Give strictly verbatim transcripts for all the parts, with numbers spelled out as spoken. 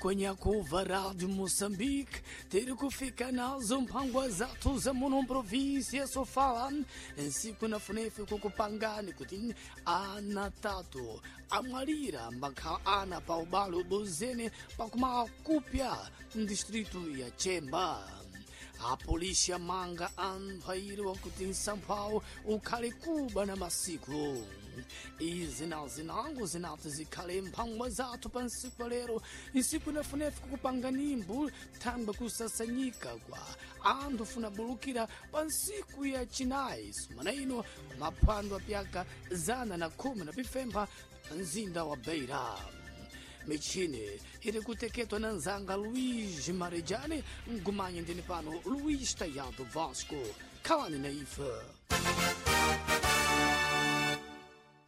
Kwenye kuva Rádio Moçambique, ter kufika nazo mphangwa zathu za muno província Sofala, nsiku na funefe kukupangani kuti ana tatu amwalira mbakhala ana pa ubalo bozene pakumala kupya mdistritu ya Chemba. Apolisi amanga anthu ayiri wakuti msamphawo ukhale kuba na masiku. Izi na zinango zinati zikhale mphangwa zathu pa nsiku lero, nsiku inafunefu kukupanga nimbu thangwe kusasanyika kwa anthu funabulukira pa nsiku ya chinayi sumana ino maphwando apyaka zana na khumi na pifempha pa mzinda wa Beira. Michini iri kuteketwa na nzanga Luís Marejane, mgumanye ndini pano Luís Tayado Vasco. Khalani na ife.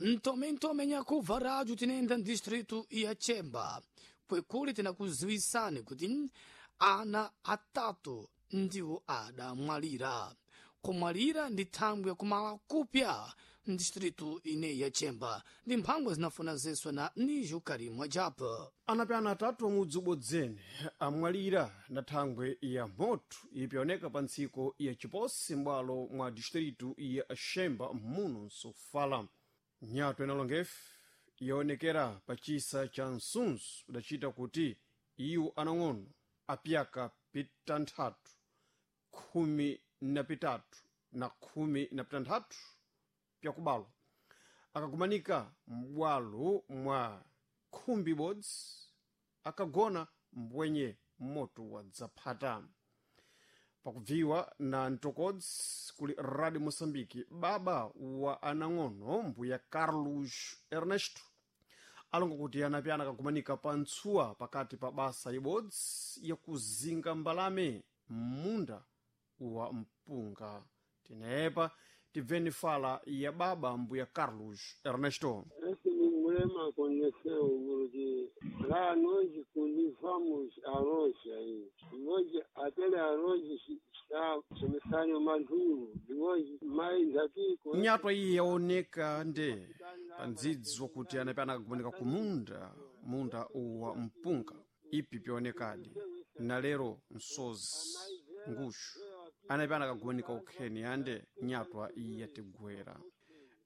Ntome ntome nyakuva rádio tinenda distrito ya Chemba. Kwekuli tinakuziwisani kuti ana atatu ndiwo adamwalira. Kumwalira ndi thangwi yakumala kupya mdistritu ine ya Chemba. Ndi mphangwa zinafuna zeswa na Nijo Karimwa Japa. Anapi ana atatu amudzi ubodzene amwalira na thangwe ya moto ipyaoneka pa ntsiko ya Chiposi m'bwalo mwa distritu ya Xemba muno Nsofala. Nyato inalongefe yaonekera pa chisa cha Nsunzu udacita kuti iwo anang'ono apyaka pitanthatu, khumi na pitatu na khumi na pitanthatu pyakubalwa akakumanika m'bwalo mwa khumbi ibodzi akagona mbwenye moto wadzaphata. Pakubviwa na mtokodzi kuli Radio Moçambique, baba wa anang'ono mbuya Carlos Ernesto alonga kuti anapyana akakumanika pa ntsuwa pakati pa basa ibodzi yakuzinga mbalame m'munda wa mpunga. Tinepa tibveni fala ya baba mbuya Carlos Ernesto. Esse problema aconteceu porque lá nós cultivamos arroz aí. Hoje aquele arroz está começando maduro. Depois mais aqui com Nyatwa iyi yaoneka nde pa ndzidzi wakuti anapyana akakumanika ku munda munda wa mpunga ipi pyaonekadi na lero msozi nguxu anapyana akagumanika ukheni ande nyatwa iyi yatigwera.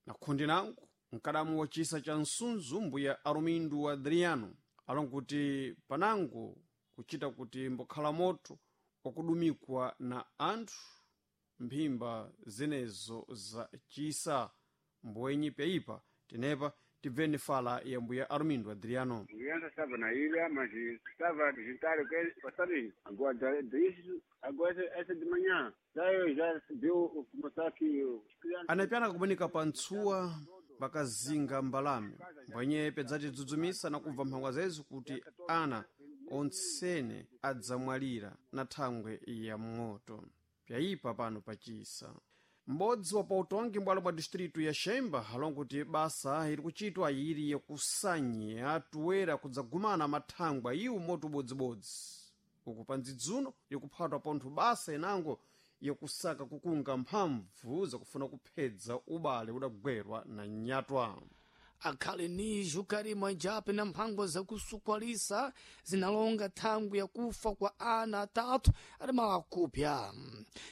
Na khundi nangu mkadamu wa chisa cha Nsunzu mbuya Arumindu Adriano alonga kuti panango kuchita kuti mbokhala moto wakudumikwa na anthu mphimba zenezo za chisa mbwenyi pyayipa. Tenepa tibveni fala ya mbuya Armindo Adriano. Criança estava na ilha, mas estava a jantar o que passar. Agora disso, agora essa de manhã. Já eu já recebeu começar aqui. Anapyana kumanika pa ntsuwa pakazinga mbalame mbwenye pedzatidzidzumisa na kubva mphangwa zezo kuti ana ontsene adzamwalira na thangwe ya moto pyayipa pano pachisa. M'bodzi wa pautongi m'bwalo mwa distritu ya Xemba alonga kuti basa iri kuchitwa ili yakusanya tuwera kudzagumana mathangwa iwo moto ubodzibodzi uku pa ndzidzuno ikuphatwa pontho basa inango yakusaka kukunga mphamvu zakufuna kuphedza ubale udagwerwa na nyatwa. Akhale Nijo Karimwa Jape na mphangwa zakusukwalisa zinalonga thangwi yakufa kwa ana atatu adamala kupya.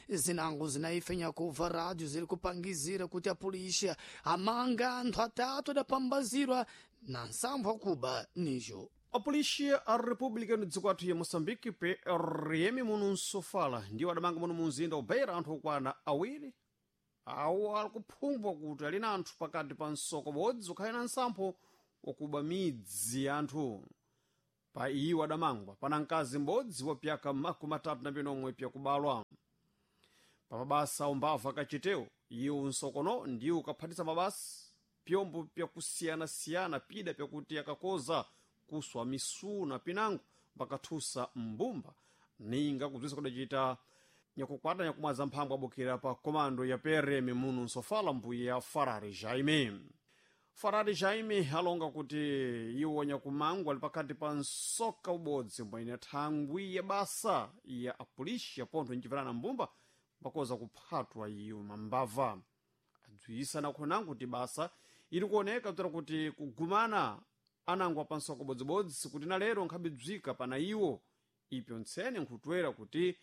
Zinango zinaifenya kuva rádio ziri kupangizira kuti apolisi amanga anthu atatu adapambazirwa na nsampho akuba Nijo. Apolisi a República no dziko athu ya Moçambique P R M muno Nsofala ndiwo adamanga muno mu mzinda ubeira anthu okwana awiri awo ali kuphumbwa kuti ali na anthu pakati pa msoko bodzi ukhale na nsampho wakuba midzi ya anthu. Pa iwo adamangwa pana mkazi m'bodzi wa pyaka makumi atatu na pinomwe pyakubalwa. Pa mabasa umbava akachitewo iwo nsokono ndiwo ukaphatisa mabasa pyombo pyakusiyanasiyana pida pyakuti akakoza kuswa misuna pinango pakathusa mbumba ninga kubzisa kudacita nyakukwata nyakumwaza mphamvu abokera pa komando ya P R M muno Nsofala mbuya Farari Jaime. Farari Jaime alonga kuti iwo nyakumangwa ali pakati pa nsoka ubodzi mbwene thangwi ya basa ya apolisi apontho nchimverana mbumba pakoza kuphatwa iyo mambava. Adziwisa nakhonango kuti basa ili kuoneka kudzera kuti kugumana Anango apansoko bodzibodzi kuti na lero nkhabidzwika pana iwo ipyo ntsene nkhutwera kuti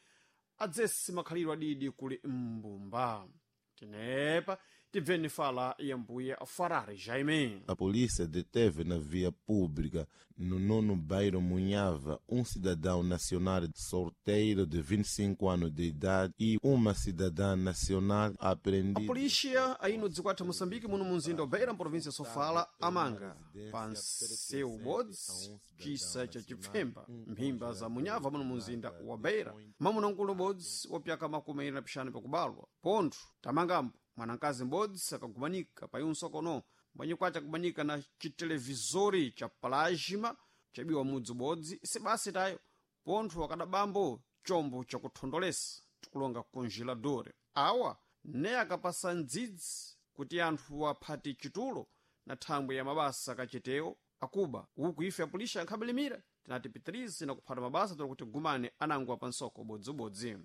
adzese makhalidwe adidi kuli mbumba. Tenepa tibveni fala ya mbuya Farare Jaime. A polícia deteve na via pública, no nono bairro Munhava, um cidadão nacional solteiro de vinte e cinco anos de idade e uma cidadã nacional A apreendida. Polícia aí no dzikwatha Moçambique, muno munzinda wa Beira, província ya Sofala, amanga pa nseu bodzi cisa cha chipfemba mphimba za Munyava muno munzinda wa Beira, mwamuna mkulu bodzi wapyaka makumi ayiri na pixanu pakubalwa pontho tamangambo mwanankazi m'bodzi akagumanika pa iunsokono mbwenye kwace akumanika na chitelevizori cha plasma chabiwa mudzi ubodzi sibasi tayo pontho akadabambo chombo chakuthondolesa tikulonga congelador awa ne akapasa ndzidzi kuti anthu aphati chitulo na thangwe ya mabasa kachitewo akuba uku ife apulisha ankhabelimira tinati pitirize na kuphata mabasa tola kuti gumane anango apansoko bodzibodzi.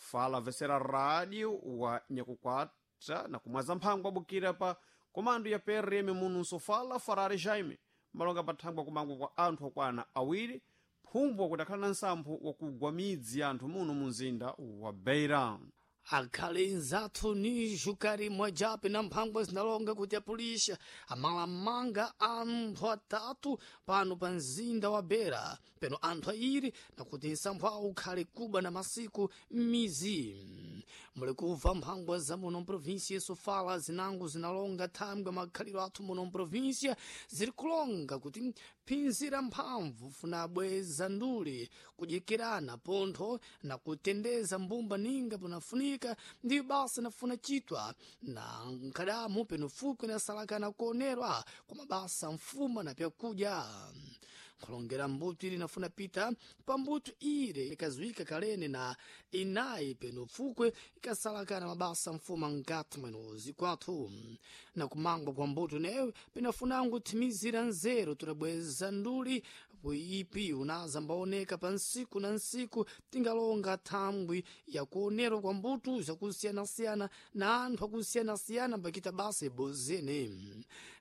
Fala vesera rádio wa nyakukwata na kumwaza mphango abukira pa komando ya P R M muno Sofala, Farare Jaime malonga pathangwa kumangwa kwa anthu okwana awiri phumbwa kuti akhala na nsampho wakugwa midzi ya anthu muno mu mzinda wa Beira. Akhale nzathu ni jukari mwajape na mphangwa zinalonga kuti apulisha amalamanga anthu atatu pano pa mzinda wa Bera peno anthu ayiri nakuti nsampho awo ukhale kuba na masiku m'mizi. Muli kumva mphangwa za muno mprovinsia ya Sofala zinango zinalonga thangwe makhaliro athu muno mprovinsia ziri kulonga kuti phinzira mphamvu funa abweza nduli kudyekirana pontho na kutendeza mbumba ninga punafunika ndiyo basa nafuna chitwa na nkhadamu peno fukwe nasalakana kuonerwa kwa mabasa mfuma na pyakudya nkhulongera mbuto ili nafuna pita pambuto ile ikazuika kalene na inayi peno fukwe ikasalakana mabasa mfuma nkati mweno zikwathu na kumangwa kwa mbuto newe penafunango thimizira nzeru tulabweza nduli ipi unaza mbaoneka pa nsiku na nsiku tingalonga thambwi yakuonerwa kwa mbuto zakusiyanasiyana na anthu akusiyanasiyana mbakita basa ibozene.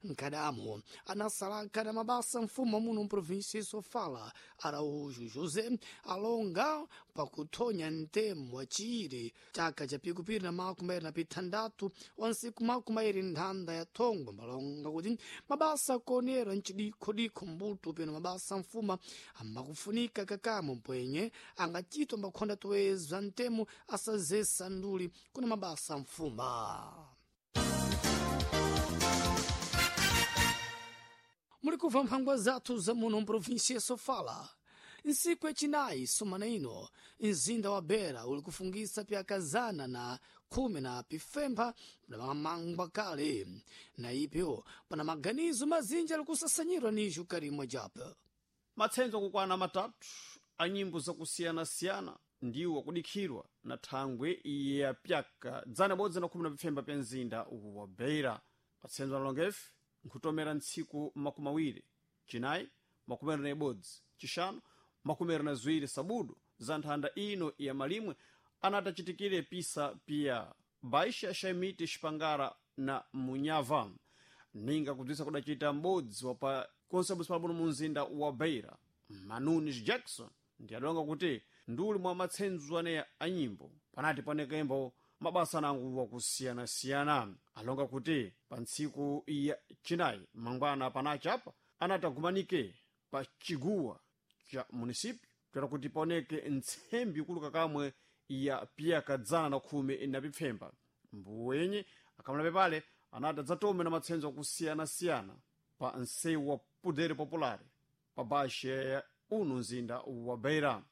Nkadamo anasalakana mabasa mfumo muno mprovinsia Sofala, Araújo José, alonga pakuthonya ntemo wa chiiri chaka cha pikupiri na makumi ayiri na pithandatu wa nsiku makumi ayiri nthanda ya thongwe mbalonga kuti mabasa akuonerwa mcidikhodikho mbuto peno mabasa mfuma ambakufunika kakamo mpwenye angachitwa mbakhonda toeza ntemo asazesa nduli kuna mabasa mfuma. Muli kumva mphangwa zathu za muno mprovinsia ya Sofala. Nsiku yacinayi sumana ino mzinda wa Bera uli kufungisa pyakazana na khumi na pifempha pamamangwa kale na ipyo pana maganizo mazinji ali kusasanyirwa ni Jukarimwa japa. Matsenzo akukwana matatu a nyimbo zakusiyanasiyana ndiwo akudikhirwa na thangwe ya pyaka dzana bodzi na khumi na pifemba pya mzinda wa Beira. Matsenzo alongefe nkhutomera ntsiku makumi awiri cinayi, makumi awiri na ibodzi cixanu, makumi awiri na ziwiri sabudu za nthanda ino ya malimwe anati acitikire pisa pia baixa xaimiti xipangara na Munyava ninga kubzisa kudacita m'bodzi wa pa konsebusi palabuno mu mzinda wa Beira, Manunis Jackson, ndi adonga kuti nduli mwa matsenzo aneya a nyimbo panati panekembo mabasa anango wakusiyanasiyana. Alonga kuti pa ntsiku ya cinayi mangwana panachapa anati agumanike pa chiguwa cha munisipyu toera kuti paoneke ntsembi ikuluka kamwe ya piyaka dzana na khumi na pipfemba. Mbuwenye akamala pepale anati adzatome na matsenzo akusiyana-siyana pa nsewu wa Poder Popular pa bashe ya uno mzinda wa Beira.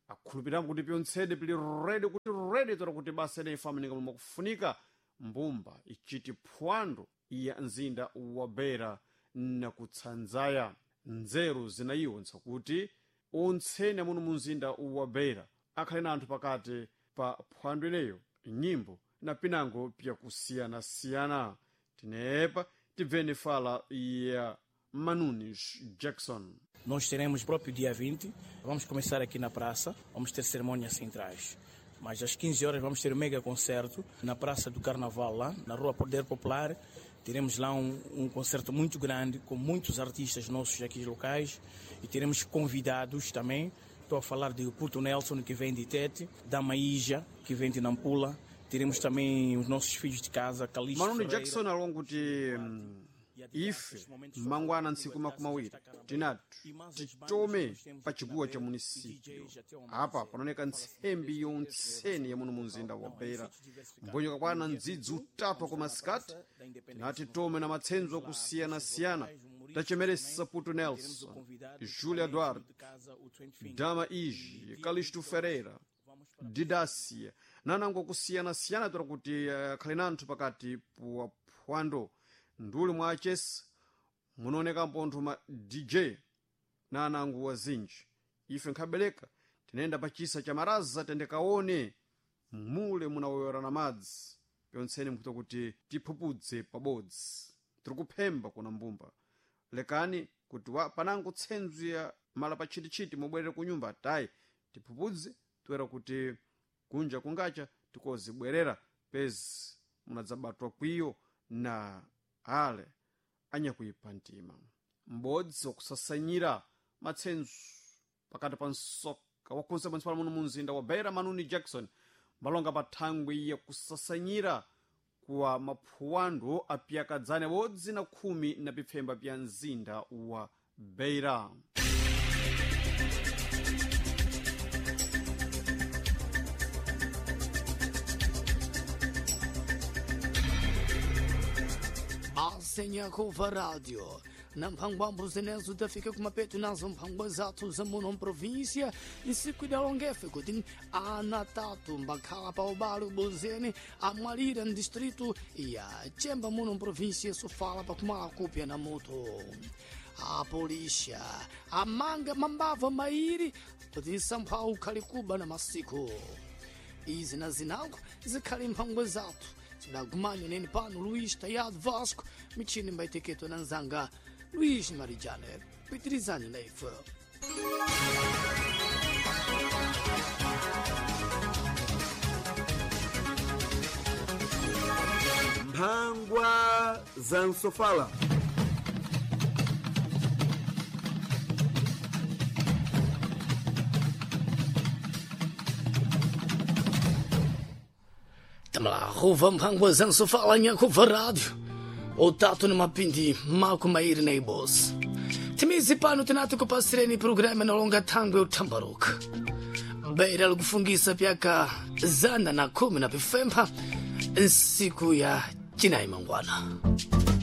Akhulupiramo kuti pyontsede pili redi kuti redi toera kuti basa ineyi ifamanika momwe kufunika mbumba ichiti phwando ya mzinda wa Beira na kutsanzaya nzeru zinayiwo nsakuti ontsene muno mu mzinda wa Beira akhale na anthu pakati pa phwando ineyo nyimbo na pinango pyakusiyanasiyana. Tinepa tibveni fala ya Manunis Jackson. Nós teremos próprio dia vinte, vamos começar aqui na praça, vamos ter cerimônias centrais. Mas às quinze horas vamos ter um mega concerto na Praça do Carnaval, lá na Rua Poder Popular, Teremos lá um, um concerto muito grande com muitos artistas nossos aqui locais e teremos convidados também. Estou a falar de Puto Nelson, que vem de Tete, da Maíja, que vem de Nampula. Teremos também os nossos filhos de casa, Calixto Manoni Ferreira. Jackson alonga kuti mm, ife mangwana ntsiku makumi awiri tinati titome pa chiguwa cha munisipyo apa panaoneka ntsembi yontseni ya muno mu mzinda wa Beira mbonyoka kwana ndzidzi utatu akumasikati tinati tome na matsenzo akusiyana-siyana tachemeresa Puto Nelson, Júlia Duarte, Dama Iji, Calixto Ferreira, Didacia, nanango kusiyana-siyana tora kuti akhale nanthu pakati pa phwando nduli mwa achesa munaoneka mpontho ma D J na anango wazinji. Ife nkhabeleka tinayenda pa chisa cha maraza tendekaone mule munawoyerana madzi pyontseni mkuta kuti tiphupudze pabodzi tiri kuphemba kuna mbumba lekani kuti wa panango tsenzu ya mala pa tchititchiti mubwerere ku nyumba tayi tiphupudze toera kuti kunja kungacha tikozibwerera pezi munadzabatwa kwiyo na ale anyakuipa mtima m'bodzi wakusasanyira matsenzu pakati pa msoka wakhonse pansi muno mu mzinda wa Beira Manuni Jackson malonga pa thangwi yakusasanyira kuwa maphuwando apiyakadzane bodzi na khumi na pipfemba pya mzinda wa Beira. Asenyakova Rádio. Na mphangwambo zenezo tafika kumapeto nazo mphangwa zathu za muno mprovíncia nsiku idalongefe kuti ana tatu mbakhala pa ubale ubozeni amwalira mdistrito ya Chemba muno mprovíncia Sofala pakumala kupya na moto. A polícia amanga mambava mairi kuti nsamphawu ukhali kuba na masiku izi na zinango zikhali mphangwa zathu tidagumanya nene pano Luís Tayado Vasco michini mbaiteketo na nzanga Luís Marijane pitirizani na ife. Mphangwa za Nsofala. Tamo lá, ruva mphangwa za Nsofala nyakuva rádio otatu ni mapindi mako mairi na ibosi timizi pano tinati kupasireni programa inalonga thangwe uthambaruka Beira likufungisa pyaka zana na khumi na pifempha nsiku ya cinayi mangwana.